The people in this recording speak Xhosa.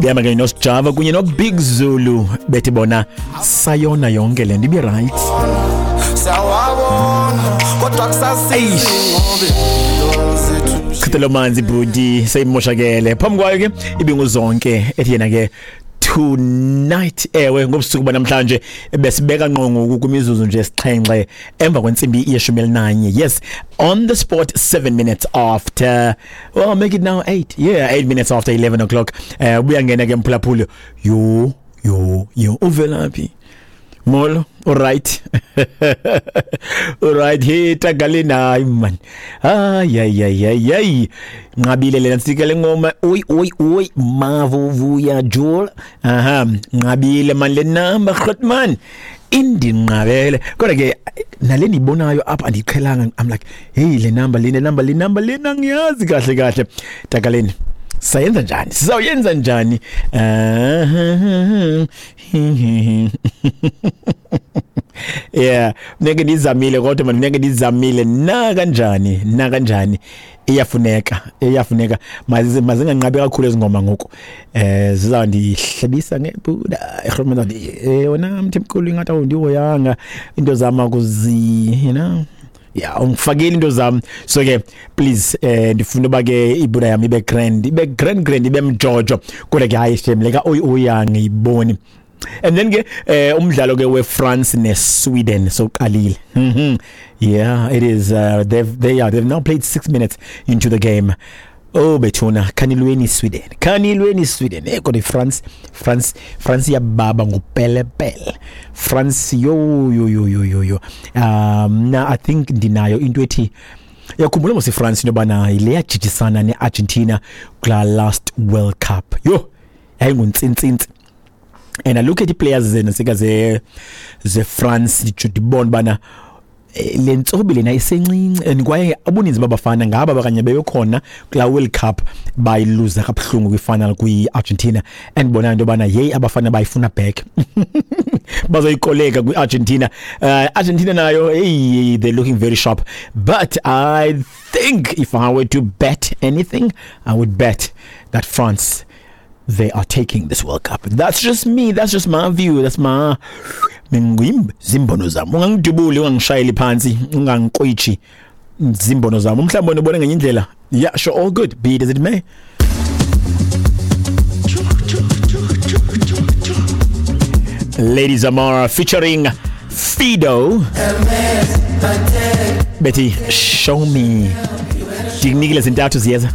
Bihamba ke noSjava kunye noBig Zulu, bethi bona sayona yonke le nto ibe right. Siyawabona kodwa kusasizi ngoba impilo zethu. Chithelo manzi bhuti, seyimoshakele. Phambi kwayo ke ibinguzonke ethi yena ke tonight. Ewe, ngobusuku banamhlanje besibeka ngqo ngoku kwimizuzu nje esixhenxe emva kwentsimbi yeshumi elinanye. Yes, on the spot, 7 minutes after, well, make it now 8, yeah, 8 minutes after 11 o'clock. Ubuyangena ke mphulaphuli. Yo yo yo, uvelaphi? Molo, alright. Alright, hey tagalina, hayi man. Ay ay ay ay ay. Nqabile lena sika le ngoma. Oy oy oy, mavuvuya jol. Aha, nqabile man le number, groot man. Indinqabele. Kodwa ke nale nibonayo apha andiqhelanga. I'm like, hey, le number le number le number lena ngiyazi kahle kahle. Tagaleni. Sayenza njani? Sizawuyenza njani? Yeah, ngeke ndizamile kodwa man, ngeke ndizamile na kanjani, na kanjani. Iyafuneka, iyafuneka. Mazinganqabi kakhulu ezingoma ngoku. Zizawundihlebisa ngebuda. Ehromela wena mthemkhulu, ingathi awundihoyanga into zama kuzi, you know. Yeah, ungifakile into zami. So ke please, ndifuna uba ke ibuda yami ibe grand, ibe grand grand, ibe mjojo. Kodwa ke hayi shem, leka oy uyangiboni. And then ke umdlalo ke weFrance neSweden soqalile. Yeah, it is they've now played 6 minutes into the game. Oh bethuna, khanilweni Sweden. Khanilweni Sweden. Kodwa iFrance, France, France yababa ngupelepele. France, yo yo yo yo yo yo. Na I think ndinayo into ethi, yakhumbula mos iFrance into yobana le yajijisana neArgentina kula last World Cup. Yo, yayinguntsintsintsi. And I look at the players zena sika ze France, nditsho ndibona bana le ntsobi lena isencinci, and kwaye ubuninzi babafana ngaba bakanye beyokhona kula World Cup bayiluza kabuhlungu kwifinal kwi-Argentina, and bona into yobana yeyi, abafana bayifuna back, bazoyikoleka kwi-Argentina. Argentina nayo, hey, they're looking very sharp, but I think if I were to bet anything, I would bet that France, they are taking this World Cup. That's just me. That's just my view. That's my zimbono zami. Ungangidubuli, ungangishayeli phansi, ungangiqwichi. Zimbono zami. Umhlawumbe wena ubona ngenye indlela. Yeah, sure, all good. Be it as it may. Lady Zamara featuring Fido. Betty, show me. Ndikunikile zintathu ziyeza.